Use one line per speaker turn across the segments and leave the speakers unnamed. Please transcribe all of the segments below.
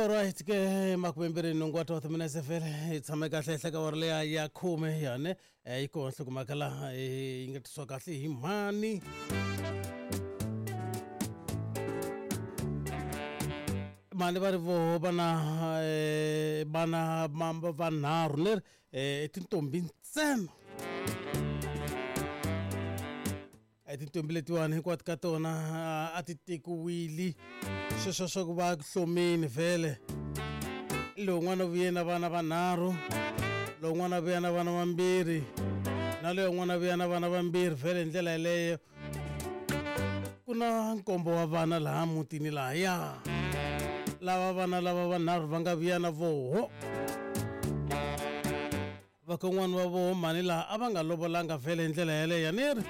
Alright ke 28 wa 12 minutes vhele hi tshame kahle henhla ka awara leya ya khume yane yi kona nhlokomhaka laha yi nga tisiwa kahle hi mhani mhani va ri voho vana vana vanharhu leri i tintombi ntsena. Tintombi letiwani hinkwato ka tona a ti tekiwile sweswo swa ku va hlomini vhele lowun'wana u vuye na vana vanharhu lowun'wana a vuya na vana vambirhi na loyi un'wana a vuya na vana vambirhi vhele hi ndlela yeleyo ku na nkombo wa vana laha mutini lahaya lava vana lava vanharhu va nga vuya na voho. Vakon'wana va voho mhani laha a va nga lovolanga vhele hi ndlela yaleyo ni ri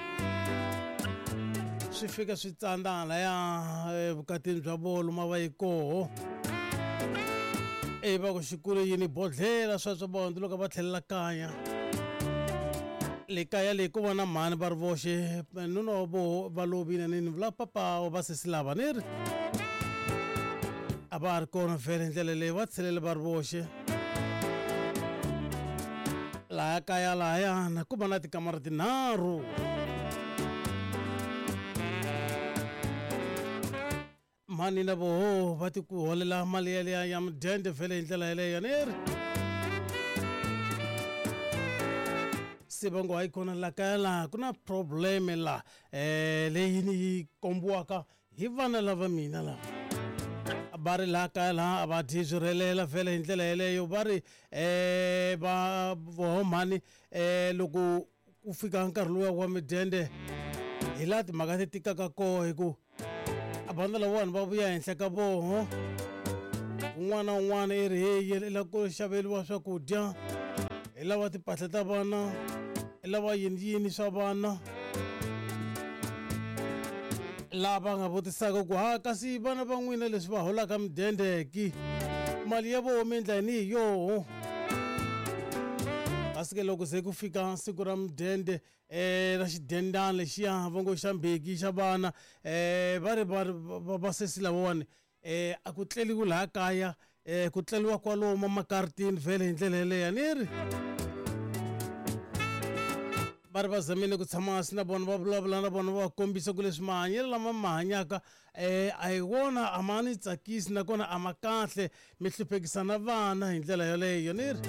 swi fika swi tsandza halaya evukatini bya voho lomu a va yi koho e va ku xikulu yini bodlhela sweswo va hundzuluka va tlhelela kaya le kaya leyi ku va na mhani va ri voxe nuna wa voho va lovile ni ni vula papa wa vasesi lava ni ri a va ha ri kona vhele hi ndlela leyi va tshelele va ri voxe. Laha kaya lahayana ku va na tikamara tinharhu. Mhani na voho va ti ku holela mali yaliya ya mudende vhele hi ndlela yeleyo ni ri se va ngo hayi kona la kaya laha ku na probleme la um leyi ni yi kombiwaka Hi vana lava mina lava va ri laha kaya laha a va dyi swi rhelela vhele hi ndlela yeleyo va ri um va voho mhani um loko ku fika nkarhi luwa wa midende hi laha timhaka ti tikaka koho hi ku vana lavawani va vuya henhla ka voho un'wana na un'wana i ri heyi i lava ku xaveriwa swakudya i lava timpahla ta vana i lava yini yini swa vana. Lava nga vutisaka ku ha kasi vana va n'wina leswi va holaka midende ki mali ya voho mi endla yini hi yoho kasi ke loko se ku fika siku ra mudende um ra xidendana lexiya va ngo xa mbeki xa vana um va ri va ri vasesi lavawani um a ku tleliwi laha kaya um ku tleliwa kwalomu makaritini vhele hi ndlela yeleyo a ni ri va ri va zamile ku tshama hansi na vona va vulavula na vona va va kombisa ku leswi mahanyelo lama ma hanyaka um a hi wona a ma ni tsakisi nakona a ma kahle mi hluphekisa na vana hi ndlela yoleyo ni ri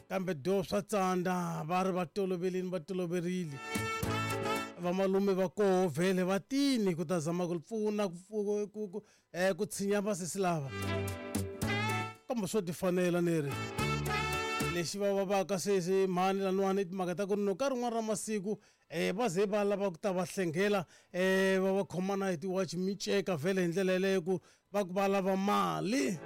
kambe do swa tsandza va ri va tolovelini va toloverile vamalume va koho vhele va tini ku ta zama ku pfuna ku ku ku ku tshinya vasesi lava kambe swo tifanela ni ri lexi va vavaka sesi mhani laniwani i timhaka ta ku ri no ka rin'wana ra masiku um va ze va lava ku ta va hlengela um va va khoma na hi tiwachi miceka vhele hi ndlela yeleyo ku va ku va lava mali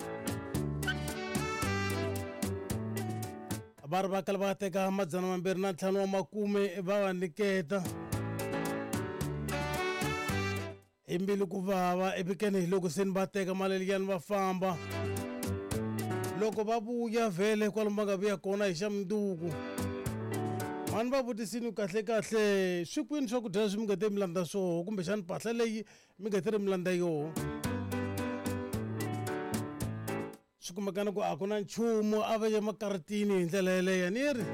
va ri va kala va teka 205 wa makume va va nyiketa hi mbilu ku vava evikeni hi loko se ni va teka mali liyani va famba loko va vuya vhele kwalomu va nga vuya kona hi xa mundzuku mhani va vutisini kahle kahle swi kwini swakudya leswi mi nga te mi landza swoho kumbexani mpahla leyi mi nga te ri mi landza yoho swi kumekana ku a ku na nchumu a va ye makaritini hi ndlela yeleyo ni ri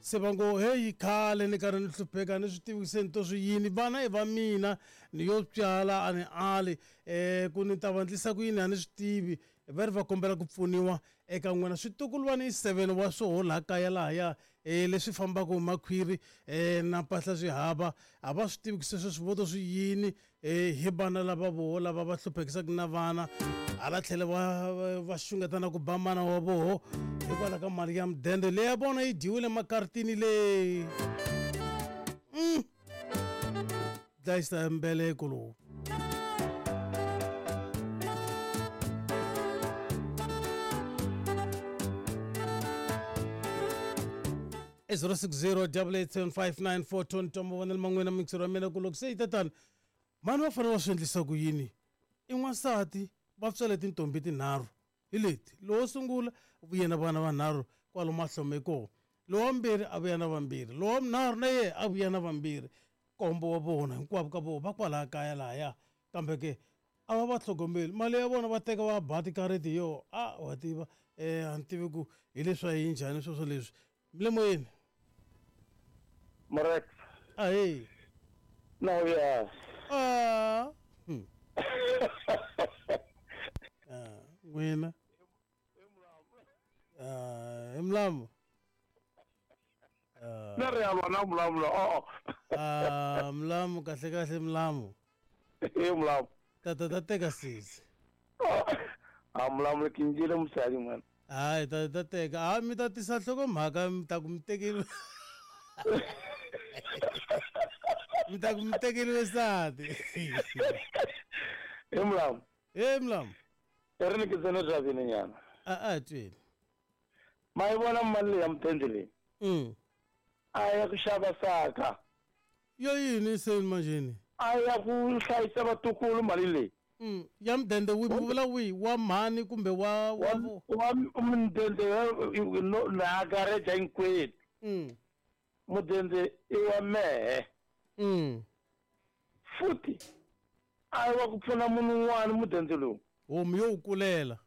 se va ngo heyi khale ni karhi ni hlupheka ni swi tivi se ni to swi yini vana i va mina ni yo tswala a ni ali um ku ni ta va ndlisa ku yini a ni swi tivi va ri va kombela ku pfuniwa eka n'wina switukulwana i 7 wa swoho laha kaya lahaya um leswi fambaka hi makhwiri um na mpahla swi hava a va swi tivi ku se sweswi vo to swi yini um hi vana lava voho lava va hluphekisaka na vana hala tlhelo va va xungeta na ku ba mana wa voho hikwalaho ka mali ya mudende leyi ya vona yi dyiwile makaritini leyi dlayisa mbeleko lowu. I 060 8875942 ni twa mavonelo ma n'wina mixero ya mina ku loko se yi ta tani mhani va fanele va swi endlisa ku yini i n'wansati va tswale tintombi tinharhu hi leti lowo sungula u vuye na vana vanharhu kwalomu a hlome kona lowa vumbirhi a vuya na vambirhi lowa vunharhu na yena a vuya na vambirhi nkombo wa vona hinkwavo ka vona va kwalaya kaya lahaya. Kambe ke a va va tlhogomeli mali ya vona va teka va ba tikariti yo a wa tiva a ni tivi ku hi leswi a yi njhani sweswo leswi mi le moyeni.
Morex.
Ahee.
Na uya.
Ah. N'wina. Ah, i mulamu.
Na ri ya vona mulamu lo. Oh.
Ah, mulamu kahle kahle mulamu.
E mulamu.
Tata ta teka sesi.
A mulamu ke njile mosadi man.
Hayi ta ta teka. A mi ta tisa nhlokomhaka mi ta ku mi tekeriwe. Mi ta ku mi tekeriwe nsati.
E mulamu.
E mulamu.
E ri ni ke tsene driving nyana.
A a tweli.
Ma yi vona mali leyi ya mudende leyi. A ya ku xava saka.
Yo yini se manjheni?
A ya ku hlayisa vatukulu mali leyi.
Ya mudende wi vula wihi wa mhani kumbe wa wa
Wa mudende na gareja hinkwenu. Mudende i wa mehe. Futhi a wa ku pfuna munhu un'wana mudende lowu.
Homu yo wu kulela.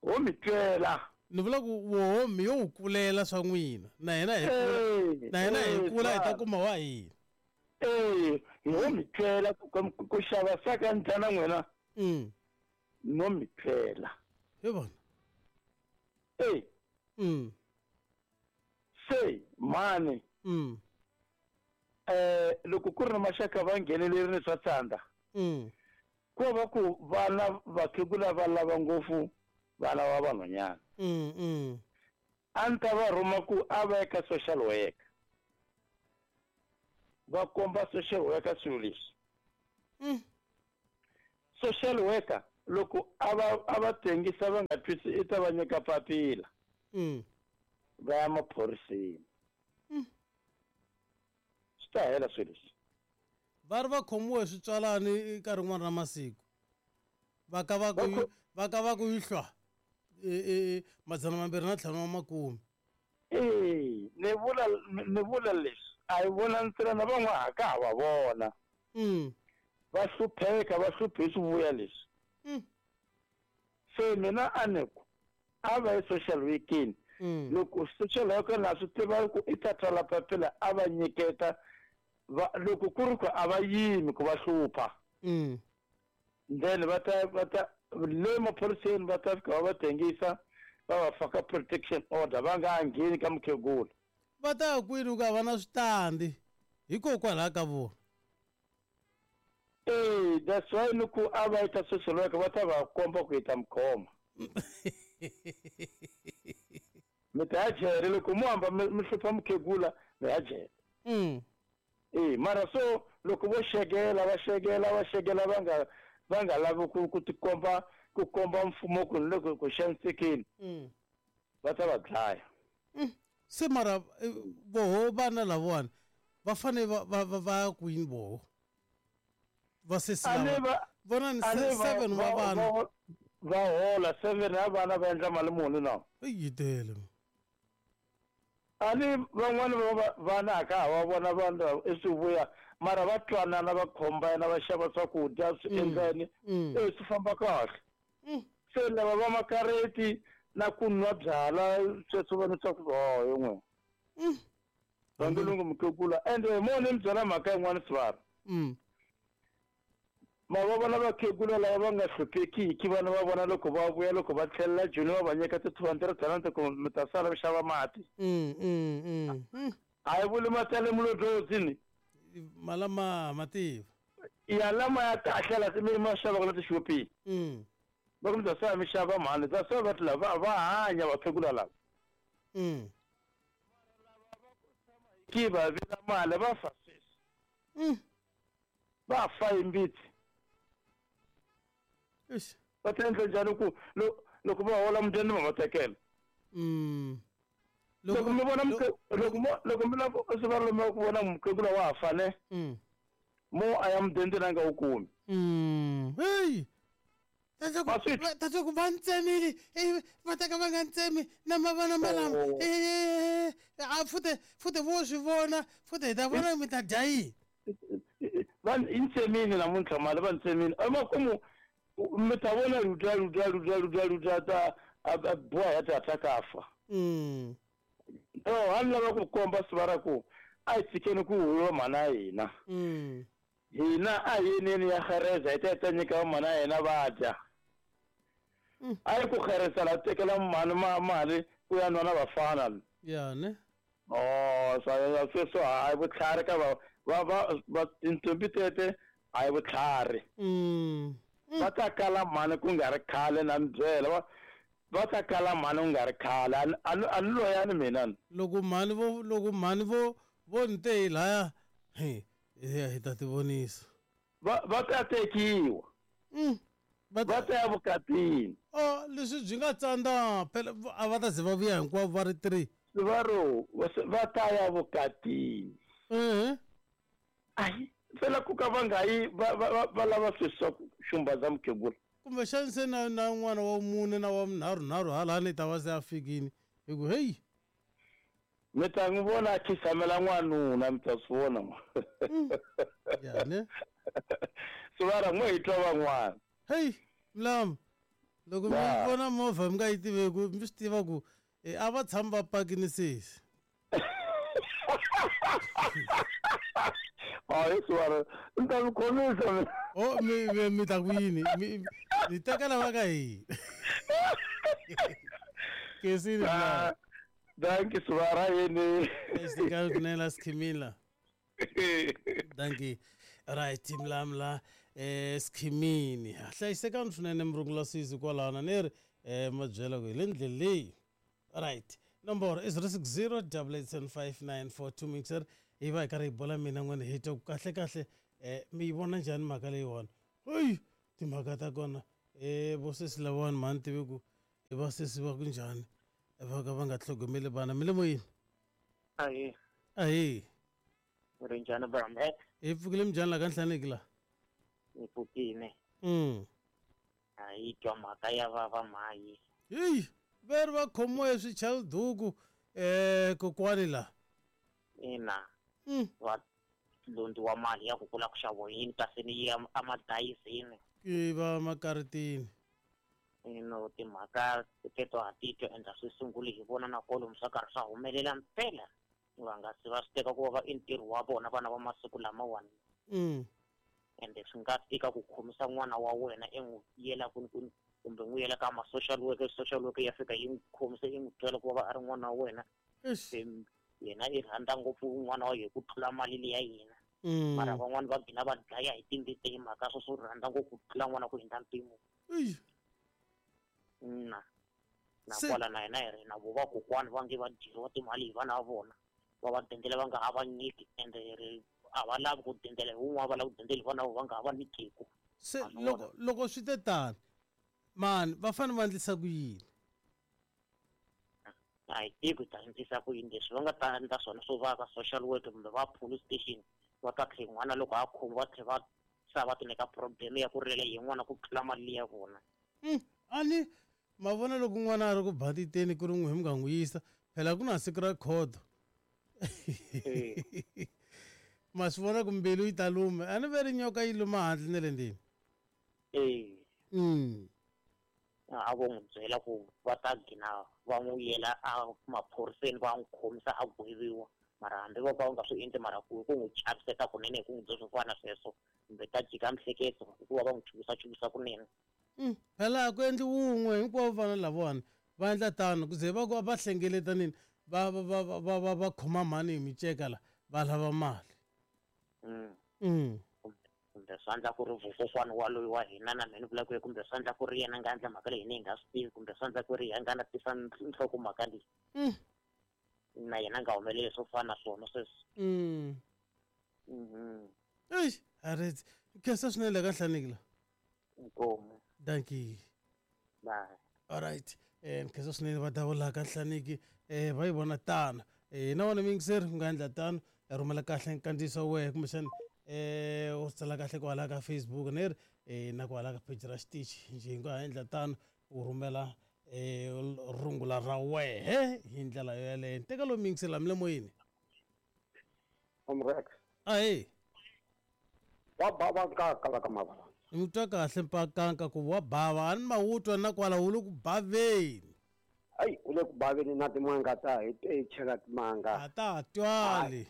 Ho mi twela.
Ni vula ku homu yo wu kulela swa n'wina na hina hi kula na hina hi kula hi ta kuma wa hina.
Ee, ho mi twela ku xava saka ni dya na n'wina. No mi twela.
Hi vona.
Ee. Se mhani. Loko ku ri na maxaka va nghenelerile swa tsandza. Ko va ku vana vakhegula va lava ngopfu vana va vanhwanyana. A ni ta va rhuma ku a va ye ka social worker. Va komba social worker swilo leswi. Social worker loko a va a va tengisa va nga twisi i ta va nyika papila. Va ya maphoriseni. Swi ta hela swilo leswi.
Va ri va khomiwe hi switswalani ka rin'wana ra masiku. Va ka va ku va ka va ku yi hlwa 250 wa makume.
Ee, ni vula ni vula leswi a hi vona ntsena na van'wana ha ka ha va vona. Va hlupheka va hluphe hi swivuya leswi. Se mina a ni ku a va yi social workini. Loko social worker na swi tiva ku i ta tsala papila a va nyiketa va loko ku ri ku a va yimi ku va hlupha. Then va ta va ta le maphoriseni va ta fika va va tengisa va va faka protection order va nga ha ngheni ka mukhegula.
Va ta ya kwini ku a va na switandi hikokwalaho ka vona.
Ee, that's why ni ku a va yi ka social worker va ta va komba ku hi ta mi khoma. Mi ta ya jele loko mo hamba mi hlupha mukhegula mi ya jele. Ee, mara so loko vo xekela va xekela va xekela va nga va nga lavi ku ku tikomba ku komba mfumo ku ni le ku xanisekeni. Va ta va dlaya.
Se mara voho vana lavawani va fanele va va va va ya kwini voho? Va sesi lava. Vona ni 7 wa vana.
Va hola 7 ya vana va endla mali muni na?
Yi tele.
A ni van'wani va vana a ka ha va vona vanhu i swivuya mara va twanana va combine va xava swakudya swi endleni e swi famba kahle. Se lava va makareti na ku nwa byala sweswo va swa ku oh yo n'we. Vangilungu mukhegula ende mo ni mi byela mhaka yin'wana sivara. Ma va vona vakhegula lava va nga hluphekiki vana va vona loko va vuya loko va tlhelela joni va va nyika ti 200 rand ku mi ta sala mi xava mati. A yi vuli mati ya le mulodlozini.
Malama mativa.
Ya lama ya kahle la mi ma xavaka la tixopini. Va ku mi ta sala mi xava mhani that's why va ti lava va hanya vakhegula lava. Ki va vila mali va fa sweswi. Va fa hi mbitsi. Va ta endla njhani ku loko va hola mudende va va tekela. Loko mi vona loko mi lava swi va lomu ku vona mukhegula wa ha fane. Mo a ya mudende na nga wu kumi.
Hey. Tata ku va ntsemile va teka va nga ntsemi na mavana malama a futhe futhe vo swi vona futhe hi ta vona mi ta dya yini.
Va yi ni tsemini namuntlha mali va ni tsemini. Emakumu mi ta vona luta luta luta luta luta ta a boha ya ta ka fa. No, a ni lava ku komba sivara ku a hi tshikeni ku huwa mhana ya hina. Hina a hi yeneni ya xereza hi ta hi ta nyika mhana ya hina va dya. A yi ku xereza la tekela mhani mali ku ya nwa na vafana.
Ya ne?
Oh, swa sweswo a hi vutlhari ka va va va va tintombi tete a hi vutlhari. Va ta kala mhani ku nga ri khale na mi byela va va ta kala mhani ku nga ri khale a ni a ni loyani mina.
Loko mhani vo loko mhani vo vo ni te hi laya hi hi ta ti vonisa.
Va va ta tekiwa.
Va
Va ta ya vukatini.
Oh, leswi byi nga tsandza phela a va ta ze va vuya hinkwavo va ri 3.
Sivaro va ta ya vukatini. Ai, phela ku ka va nga yi va va va lava sweswi swa ku xumbaza mukhegula.
Kumbexani se na na n'wana wa mune na wa nharhu nharhu halani ta va se a fikini hi ku heyi.
Mi ta n'wi vona a khisamela n'wanuna mi ta swi vona.
Ya ne?
Sivara n'we hi twa van'wana.
Hey, mlamu. Loko mi vona movha mi nga yi tiveku mi swi tiva ku a va tshami va pakini sesi.
Hayi Sivara, ni ta mi khomisa mina.
Oh, mi mi mi ta ku yini? Mi mi teka lava ka hina. Kesini mlamu.
Dankie Sivara yini.
Hlayisekani kunene la Sikhimila. Dankie. Right, mlamla Sikhimini. Hlayisekani swinene murungula sisi kwalano ni ri ma byela ku hi le ndleleni leyi. Right. Nomboro i 060 8875942 mixer hi va hi karhi hi bola mina n'wini hi twa ku kahle kahle mi yi vona njhani mhaka leyiwani. Heyi timhaka ta kona vo sesi lavawani mhani tivi ku i va sesi va ku njhani va ka va nga tlhogomeli vana mi le moyeni.
Ahee.
Ahee.
Ri njhani Bramhet?
Hi pfukile minjhani la ka Nhlaneki la?
Hi pfukile. A yi twa mhaka ya vava mhayi.
Heyi, ve ri va khomiwe hi swichaliduku kokwani la.
Ina. Va londziwa mali ya ku kula ku xaviwa yini kasi ni yi emadayizini.
Ki va makaritini.
Ino timhaka teto ha ti twa ende a swi sunguli hi vona na kwalomu swa karhi swa humelela mpela. Va nga se va swi teka ku va i ntirho wa vona vana va masiku lamawani. Ende swi nga tika ku khomisa n'wana wa wena i n'wi yela kwini kwini kumbe n'wi yela ka ma social worker, social worker ya fika yi n'wi khomisa yi n'wi byela ku va a ri n'wana wa wena. Se yena i rhandza ngopfu n'wana wa yena ku tlula mali leya yena. Mara van'wani va gina va dlaya hi timbita hi mhaka swo swo rhandza ngopfu ku tlula n'wana ku hundza mpimo. Na. Na kwala na hina hi ri na vo vakokwani va nge va dyeriwa timali hi vana va vona. Va va dendela va nga ha va nyiki ende hi ri a va lavi ku dendela hi wun'we a va lavi ku dendela hi vana va nga ha va nyikeku.
Se loko loko swi te tani mani va fanele va endlisa ku yini?
A hi tivi ku hi ta endlisa ku yini leswi va nga ta endla swona swo va ka social work kumbe va police station va ta tlhe n'wana loko a khomiwa va tlhe va sa va ti nyika problem ya ku rilela hi n'wana ku tlula mali liya vona.
A ni ma vona loko n'wana a ri ku banditeni ku ri n'wi mi nga n'wi yisa phela ku na siku ra khodo. Ma swi vona ku mbilu yi ta luma a ni ve ri nyoka yi luma handle ne le ndzeni.
A vo n'wi byela ku va ta gina va n'wi yela a maphoriseni va n'wi khomisa a gweviwa mara hambi vo ka va nga swi endli mara ku ku n'wi chaviseta kunene hi ku n'wi byela swo fana na sweswo kumbe ta jika mihleketo hikuva va n'wi chuvisa chuvisa kunene.
Phela a ku endli wun'we hinkwavo vana lavawani va endla tano ku ze va ku va hlengeletanini va va va va va va khoma mhani hi miceka la va lava mali.
Kumbe swa endla ku ri vukokwana wa loyi wa hina na mina ni vula ku kumbe swa endla ku ri yena nga endla mhaka leyi hina hi nga swi tivi kumbe swa endla ku ri yena nga na tisa nhloko mhaka leyi. Na yena nga humeleli swo fana na swona sweswi.
Eish, aretsi. Khensa swinene la ka Nhlaneki la.
Inkomu.
Dankie.
Bye.
All right. Nkhensa swinene va davula ka Nhlaneki va yi vona tano. Na wena muyingiseri u nga endla tano rhumela kahle nkandziyiso wa wehe kumbexana u tsala kahle kwala ka Facebook ni ri na kwala ka page ra xitichi njhe hi nga ha endla tano u rhumela rungula ra wehe hi ndlela yoyaleyo. Teka lowu muyingiseri la mi le moyeni.
Omrex.
Ahee.
Wa bava nkaka la ka Mavalani.
Ni twa kahle mpakanka ku wa bava, a ni ma wu twa na kwala wu le ku baveni.
Ayi, u le ku baveni na timanga ta hi te chela timanga.
A ta ha twali.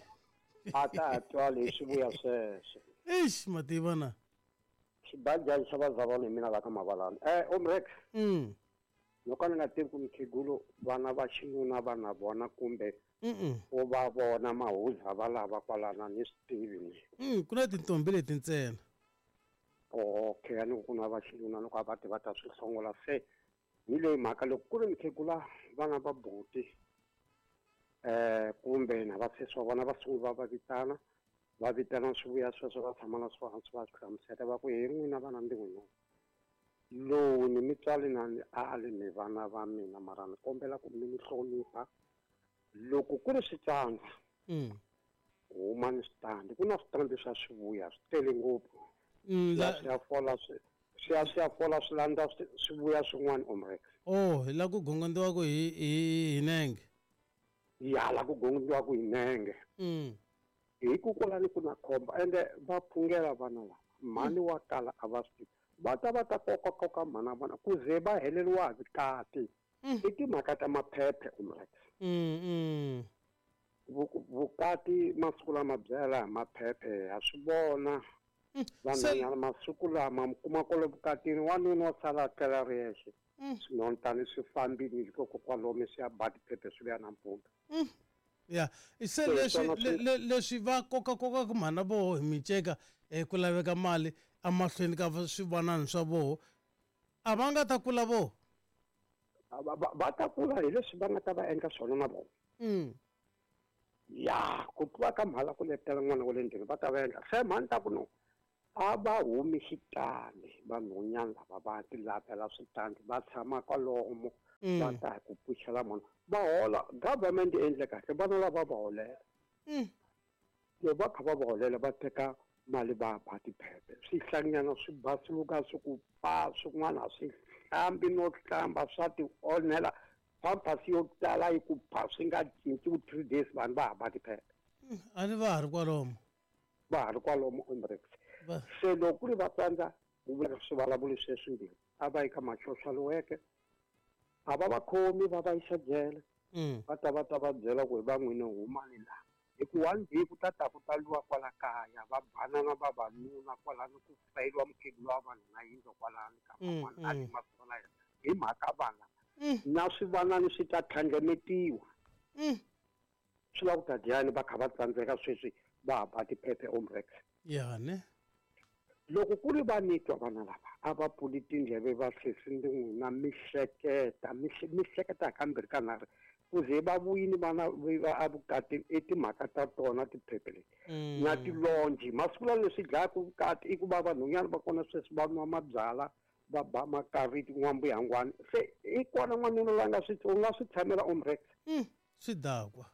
A ta ha twali hi swivuya sweswo.
Eish, mativa na.
Xibajani xa vazalwana hi mina la ka Mavalani. Omrex. Loko ni nga tivi ku mukhegulu vana va xinuna va na vona kumbe u va vona mahuza va lava kwalana ni swi tivi
ni. Ku na tintombi leti ntsena.
Okay, a ni ku na va xinuna loko a va ti va ta swi hlongola se hi leyi mhaka loko ku ri mukhegula vana va buti kumbe na va sesi wa vona va sungula va vitana vitana swivuya sweswo va tshama na swo hansi va swi hlamusela va ku hi n'wina vana ndi n'wina lowu ni mitswali na ni ali mi vana va mina mara ni kombela ku mi ni hlonipha loko ku ri switsandza huma ni switandi ku na switandi swa swivuya swi tele ngopfu swi ya fola swi landza swivuya swin'wana omrex.
Oh, hi la ku gongondziwaka hi nenge.
Ya la ku gongondziwaka hi nenge. Hi ku kwalani ku na khombo ende va phungela vana lava mhani wa kala a va swi va ta va ta kokakoka mhana vona ku ze va heleriwa hi vukati. I timhaka ta maphephe omrex. Vukati masiku lama byela hi maphephe ha swi vona. Vanhwanyana masiku lama mi kuma kwale vukatini wanuna wa sala a tlela ri yexe. Swinontani swi fambile hikokwalomu swi ya ba tiphephe swi vuya nampundzu.
Ya, se leswi va kokakokaka mhana voho hi miceka ku laveka mali emahlweni ka swivanani swa voho a va nga ta kula voho.
Va ta kula hi leswi va nga ta va endla swona na vona. Ya, ku tluwa ka mhala ku letela n'wana wa le ndlwini va ta va endla se mhani ta ku no a va humi xitandi vanhwanyana lava va ti lavela switandi va tshama kwalomu va ta hi ku pfuxela munhu va hola. Government yi endle kahle vana lava va holela. Loko va kha va va holela va teka mali va ba tiphephe swihlanyana swi basiluka swi ku pa swin'wana swi hlambi no hlamba swa ti onhela pampers yo tala yi ku pa swi nga cinci ku 3 days vanhu va ha ba tiphephe.
A ni va ha ri kwalomu.
Va ha ri kwalomu omrex. Se loko ku ri va tsandza ku vula swivulavuli sweswimbirhi a va yi ka ma-social worker a va va khomi va va yisa jele. Va ta va byela ku hi va n'wina humani laha hi ku one day ku ta ta ku taliwa kwala kaya va banana vavanuna kwalano ku fayeliwa mukhegulu wa vanhu na yindlu kwalano ka van'wana a ti masiku la yena hi mhaka vana na swivanani swi ta tlhandlemetiwa. Swi lava ku ta dyani va kha va tsandzeka sweswi va ha ba tiphephe omrex.
Ya ne.
Loko ku ri va nitwa vana lava a va pfuli tindleve va sesi ndi n'wina mi hleketa mi hleketa kambirhi ka nharhu ku ze va vuyini vana va evukatini i timhaka ta tona tiphephe leti na tilonji masiku lawa leswi dlayaka vukati i ku va vanhwanyana va kona sweswi va nwa mabyala va ba makariti n'wambuyangwani se i kona n'wanuna la nga swi u nga swi tshamela omrex.
Swidakwa.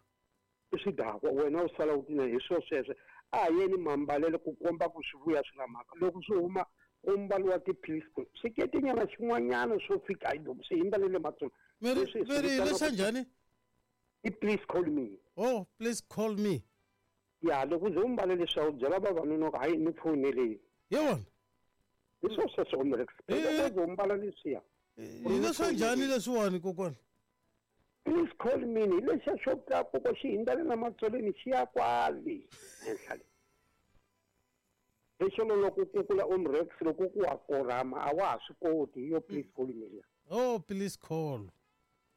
Swidakwa wena u sala u tina hi swo sweswo a yeni mambalele ku komba ku swi vuya swi na mhaka loko swi huma ku mbaliwa tiphilisi swiketinyana xin'wanyana swo fika hi loko swi hindza le matsolo.
Veri leswa njhani?
I please call me.
Oh, please call me.
Ya, loko uze umbale leswi u byela vavanuna ku hayi ni foneleni.
Hi wona.
Hi swo sweswo omrex. Loko uze umbala leswiya.
Hi leswa njhani leswiwani kokwana?
Please call me hi lexiya xo tlakuka xi hindza le na matsolweni xi ya kwale henhla le. Lexo loko ku kula omrex loko ku wa korama a wa ha swi koti hi yo please call me liya.
Oh, please call.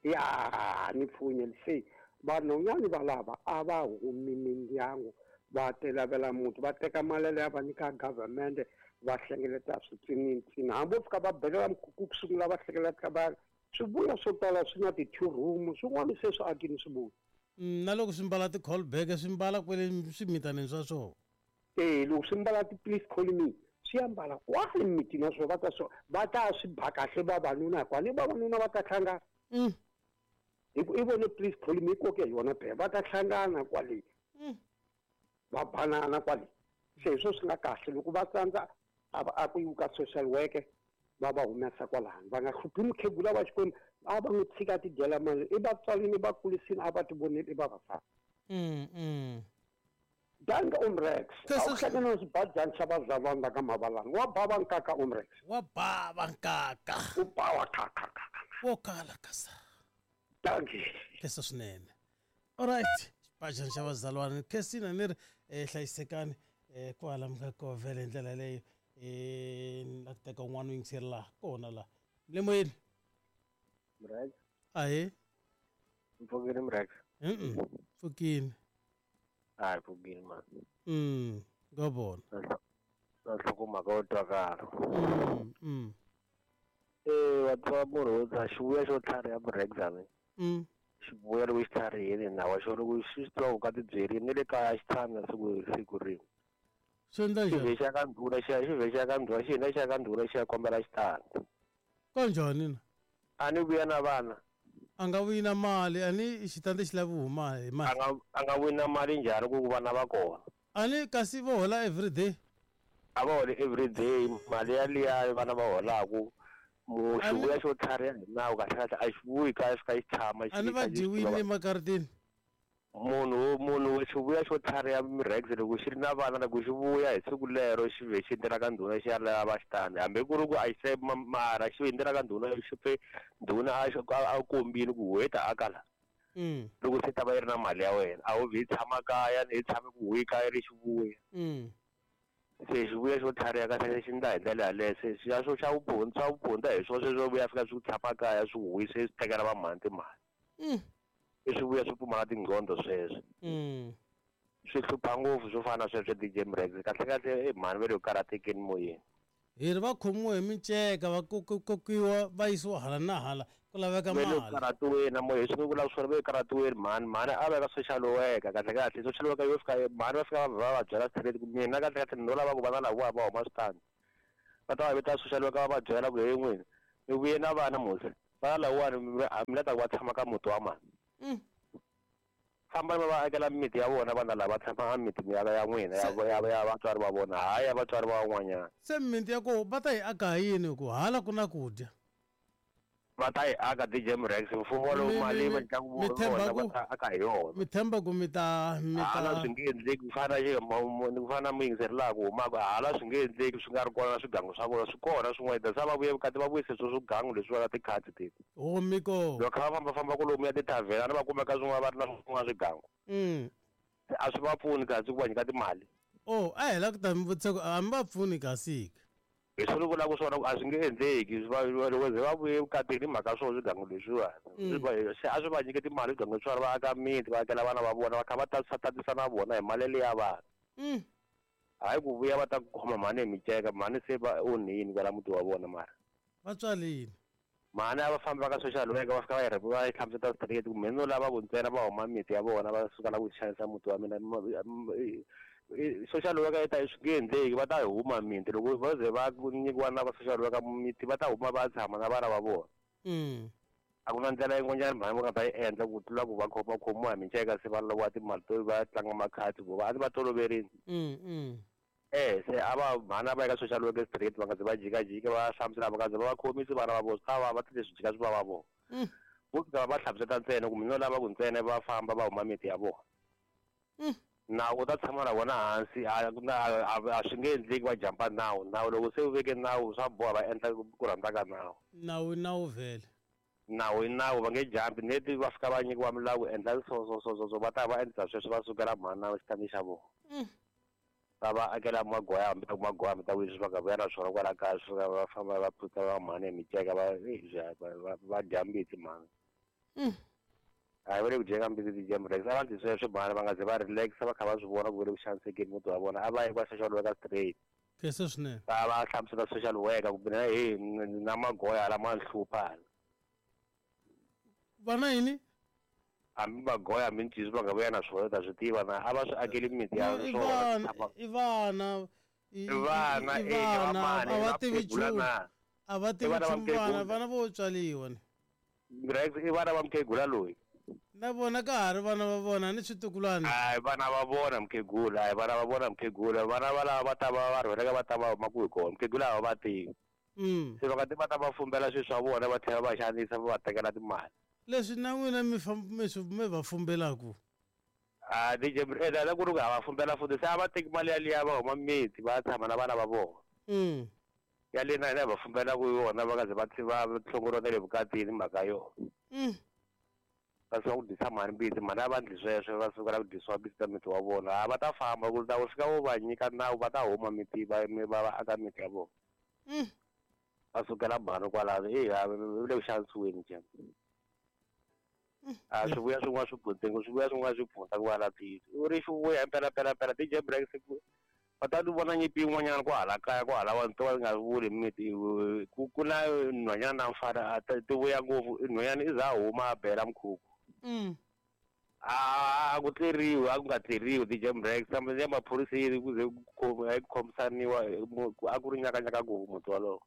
Ya, ni pfunye se vanhwanyana va lava a va humi mindyangu va tilavela muti va teka mali ya va nyika government va hlengeleta switsinitsini hambi vo fika va belela mikhukhu ku sungula va hlengeleta va swivuya swo tala swi na ti-two room swin'wana se swi akini swivuya.
Na loko swi mbala ti-call back swi mbala kwele swimitanini swa swona.
Loko swi mbala ti-please call me swi ya mbala kwale mimitini ya swona va ta swi ba kahle vavanuna hikwani ni vavanuna va ta hlangana. Hi ku i vone please call me koke hi yona phela va ta hlangana kwale. Va banana kwale. Se hi swo swi nga kahle loko va tsandza a ku yiwa ka social worker va va humesa kwalano va nga hluphi mukhegula wa Xikwembu a va n'wi tshika ti dyela mali i vatswalini va kurisini a va ti voneli i vavasati. Danke Umrex. A wu hlangana na xibajani xa vazalwana la ka Mavalani. Wa bava nkaka Umrex.
Wa bava nkaka.
U bawa kaka kaka.
Wo kala kasa.
Danke.
Kesa swinene. Alright. Xibajani xa vazalwana. Khesina ni ri hlayisekani kwala mi nga koho vhele hi ndlela yaleyo. Ni la ku teka un'wana u yingiseri laha kona laha. Le moyeni.
Mrex.
Ahee.
Mpfukile Mrex.
Pfukile.
Hayi pfukile man.
Nga vona.
Na nhlokomhaka yo twakala. Wa tiva munhu wo dzaha xivuya xo tlhariha Mrex a ni. Xivuya loko xi tlharihile na wa xona loko xi swi tiva ku ka tibyerile ni le kaya xi tshami na siku rin'we.
Swi endla njhani?
Xi vhe xi ya ka ndhuna xi ya xi vhe xi ya ka ndhuna xi hina xi ya ka ndhuna xi ya kombela xitandi.
Kanjhani na?
A ni vuya na vana.
A nga vuyi na mali, a ni xitandi xi lavi huma hi mali.
A nga vuyi na mali njhani ku vana va kona?
A ni kasi vo hola everyday?
A va holi everyday, mali yaliya vana va holaku xivuya xo tlhariha hi nawu kahle kahle a xi vuyi kaya xi fika xi tshama
A ni va dyiwile emakaritini?
Munhu xivuya xo tlhariha Mrex loko xi ri na vana loko xi vuya hi siku lero xi vhe xi endzela ka ndhuna xi ya lava xitandi hambi ku ri ku a xi se mara xi endzela ka ndhuna xi pfe ndhuna a kombile ku huwe ta aka la. Loko se ta va yi ri na mali ya wena a wu vhe yi tshama kaya yi tshame ku huwe kaya ri xivuya. Se xivuya xo tlhariha kahle xi ndla hi ndlela yaleyo se xa swo xa vuphunta swa vuphunta hi swona sweswo vuya fika swi tshama kaya swi huwise swi tekela va mhani timali. I swi vuya swi pfumala tingqondo sweswo. Swi hlupha ngopfu swo fana na sweswo DJ Mrex kahle kahle i mhani va le ku karhatekeni moyeni.
Hi ri va khomiwe hi minceka va kokiwa va yisiwa hala na hala ku laveka
Ve le ku
mali.
karhatiweni na moya hi swi vula swona ve le karhatiweni mhani mhani a va ya ka social worker kahle kahle social worker yo fika mhani va fika va va byela straight ku mina kahle kahle no lava ku vana lavawa va huma switandi va ta va vita social worker va va byela ku he n'wina mi vuye na vana musi vana lawani mi la ta ku va tshama ka muti wa mani. Famba va va akela mimiti ya vona vana lava tshama emitini ya ya n'wina ya ya ya vatswari va vona hayi ya vatswari va van'wanyana.
Se mimiti ya koho va ta yi aka hi yini hi ku hala ku na ku dya?
Va ta yi aka DJ Mrex mfumo lowu mali va nyikaka vona va ta aka hi yona.
Mi tshemba ku mi ta mi ta
hala swi nge endleki ku fana na ku fana na muyingiseri laha ku humaka hala swi nge endleki swi nga ri kona na swigangu swa vona swi kona swin'wana that's why va vuye vukati va vuyise swo swigangu leswiwa na tikhadi teti.
Oh mi ko.
Loko kha va famba famba kolomu ya tithavhena ni va kumeka swin'wana va ri na swin'wana swigangu. Se a swi va pfuni kasi ku va nyika timali.
Oh a hi la ku ta mi vutisa ku a mi va pfuni kasi ke.
Hi swona ni vulaka swona ku a swi nge endleki loko ze va vuye vukatini hi mhaka swona swigangu leswiwani. Se a swi va nyike timali swigangu leswiwani va aka miti va akela vana va vona va kha va tatisa tatisa na vona hi mali leya vana. Hayi ku vuya va ta ku khoma mhani hi miceka mhani se va onhini kwala muti wa vona mara.
Va tswalini.
Mhani a va fambi va ka social worker va fika va yi va yi hlamusela straight ku mina no lava ku ntsena va huma miti ya vona va suka la ku xanisa muti wa mina social worker yi ta swi nge endleki va ta huma miti loko va ze va nyikiwa na va social worker miti va ta huma va tshama na vana va vona. A ku na ndlela yin'wanyana mhani va nga ta yi endla ku tlula ku va khoma khomiwa hi minceka se va loviwa timali to va tlanga makhadi vo va a va toloverile. Se a va mhani a va ya ka social worker straight va nga ze va jikajika va hlamusela va nga ze va va khomisi vana va vona swi ta vava leswi jika swi vava vona. Vo fika va hlamusela ntsena ku mina no lava ku ntsena va famba va huma miti ya vona. Nawu u ta tshama na vona hansi a a swi nge endleki va jampa nawu nawu loko se u veke nawu swa boha va endla ku rhandza ka nawu.
Nawu i nawu vhele.
Nawu i nawu va nge jampi neti va fika va nyikiwa milawu endla so so so so so va ta va endla sweswo va sukela mhani na xitandi xa vona. Va va akela magoya hambi ta ku magoya hambi ta ku leswi va nga vuya na swona kwala kaya swi fika va famba va phutha va mhani hi miceka va va dya mbitsi mhani. Hayi va le ku dyeni ka mbitsi ti-jam relax a va ndli sweswo mhani va nga ze va relax va kha va swi vona ku va le ku xanisekeni muti wa vona a va yi ka social worker straight.
Khensa swinene.
Va va hlamusela social worker ku mina he na magoya hala ma ni hlupha hala.
Va na yini?
Hambi magoya hambi ncisi va nga vuya na swona ta swi tiva na a va swi akeli miti ya swona.
I vana
I vana i vana
a va tivi nchumu a va tivi nchumu vana vana vo tswaliwa ni.
Rex i vana va mukhegula loyi.
Na vona ka ha ri vana va vona ni switukulwana.
Hayi vana va vona mukhegula hayi vana va vona mukhegula vana va lava va ta va va rhweleka va ta va huma kwihi kona mukhegula a va va tivi. Se va nga ti va ta va fumbela swilo swa vona va tlhela va xanisa va va tekela timali.
Leswi na n'wina mi mi swi mi va fumbelaku.
A DJ la ku ri ku ha va fumbela futhi se a va teki mali yaliya va huma miti va tshama na vana va vona. Ya le na hina va fumbela ku yona va nga ze va hlongoriwa na le vukatini mhaka yona. Va suka ku dyisa mhani mbitsi mhani a va ndli sweswo va sukela ku dyisiwa mbitsi ta miti wa vona a va ta famba ku ta fika vo va nyika nawu va ta huma miti va va aka miti ya vona. Va sukela mhani kwalano le ku xanisiweni njhe. A swi vuya swin'wana swi butsengo swi vuya swin'wana swi pfunta ku va la tiyisi u ri xi vuya impela pela pela DJ Breaks va ta vona nyimpi yin'wanyana ku hala kaya ku hala vanhu to va nga vuli miti ku na nhwanyana na mfana ti vuya ngopfu nhwanyana i za huma a bela mukhuku. A ku tleriwi a ku nga tleriwi DJ Breaks kambe ya maphoriseni ku ze ku khomisaniwa a ku ri nyakanyaka ngopfu muti walowo.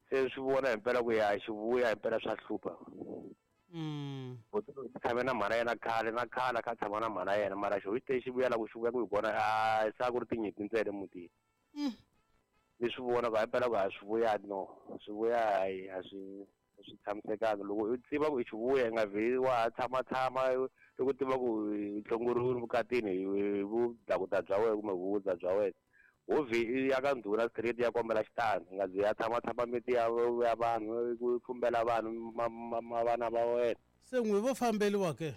Se swi vona himpela ku ya xivuya himpela swa hlupha. Tshame na mhana yena khale na khale kha tshama na mhana yena mara xo xi xi vuya la ku xi vuya ku hi vona a se a ku ri tinyimpi ntsena emutini. Ni swi vona ku himpela ku a swi vuya no swi vuya hayi a swi tshamisekanga loko u tiva ku i xivuya i nga vheli wa tshama tshama loko u tiva ku i hlongoriwile vukatini hi vudakuda bya wena kumbe vuvudza bya wena ho vhe ya ka ndhuna straight ya kombela xitandi nga zi ya tshama tshama miti ya vanhu ku fumbela vanhu vana va wena.
Se n'wi vo fambeliwa ke?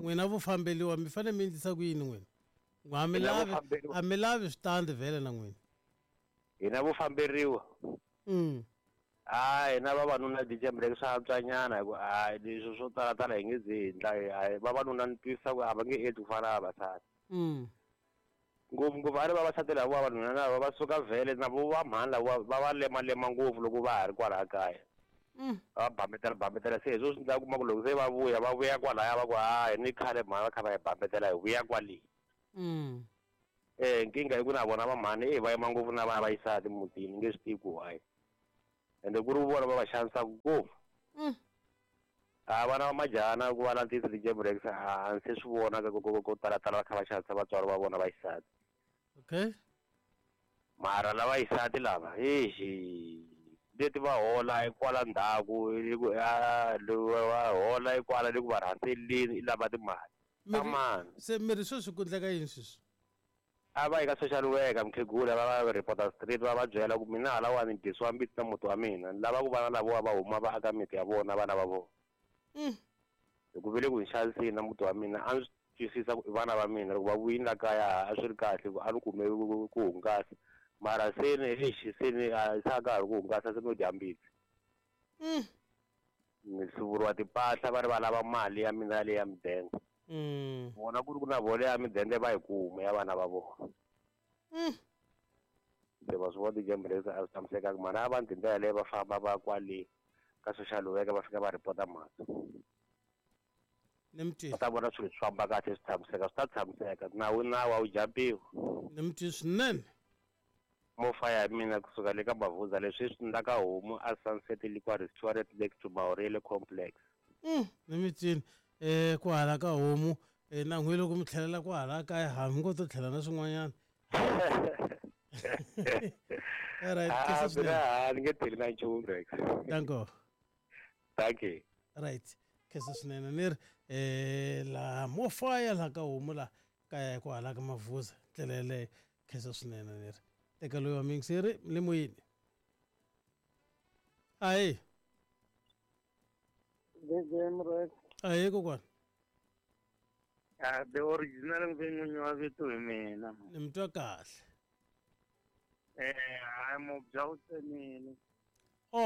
N'wina vo fambeliwa mi fanele mi endlisa ku yini n'wina? A mi lavi switandi vhele na n'wina?
Hina vo famberiwa. A hina vavanuna DJ Breaks swa antswanyana hi ku a leswi swo talatala hi nge zi hi ndla vavanuna ni twisisa ku a va nge endli ku fana na vavasati. Ngopfungopfu a ri vavasati lava vavanuna lava va suka vhele na vo va mhani lava va va lemalema ngopfu loko va ha ri kwalaya kaya. Va bambetela se hi swo swi ndla kuma ku loko se va vuya kwalaya va ku hayi ni khale mhani va kha va hi bambetela hi vuya kwale. Nkingha i ku na vona va mhani va yima ngopfu na vana va xisati mutini nge swi tivi ku why. Ende ku ri vona va va xanisaka ngopfu. A vana va majana ku va na ntiyiso DJ Breaks a se swi vona ko talatala va kha va xanisa vatswari va vona va xisati.
Okay.
Mara lava xisati lava leti va hola kwala ndzhaku va hola kwala le ku va rhandzeleni i lava timali.
Se miri sweswi ku endleka yini sweswi?
A va yi ka social worker mukhegula va va reporter street va va byela ku mina halawani ni dyisiwa mbitsi na muti wa mina ni lava ku vana lavawa va huma va aka miti ya vona vana va vona. Hi ku vele ku ni xanisini na muti wa mina a ndzi twisisa ku i vana va mina loko va vuyini la kaya a swi ri kahle ku a ni kume ku hungasa mara seni seni a sa ka ha ri ku hungasa se no dya mbitsi. Ni hluvuriwa timpahla va ri va lava mali ya mina yaleyo ya mudende. Vona ku ri ku na vona ya midende va yi kuma ya vana va vona. Se va swi vona DJ Breaks a swi tshamisekanga mhani a va ndzi ndlela leyi va famba va kwale ka social worker va fika va report-a mhaka. Va ta vona swilo swi famba kahle swi tshamiseka swi ta tshamiseka nawu nawu a wu jampiwi.
Ni mi twile swinene.
Mofa ya mina kusuka le ka Mavuza leswi swi ndla ka homu a Sunset Liquor Restaurant next to Maurele Complex.
Ni mi twile. Ku hala ka homu na n'wi loko mi tlhelela ku hala kaya ha mi ngo to tlhela na swin'wanyana. All right,
ni nge tlheli na nchumu Rex.
Danko.
Thank you.
Right. Khensa swinene ni ri laha mofaya laha ka homu laha kaya ku hala ka Mavuza ndlela yeleyo khensa swinene ni ri teka loyi wa miyingiseri le moyeni. Ahe. Ahe kokwana.
The original n'winyi wa vito hi mina.
Ni mi twa kahle.
Hayi mubya wu tsemile.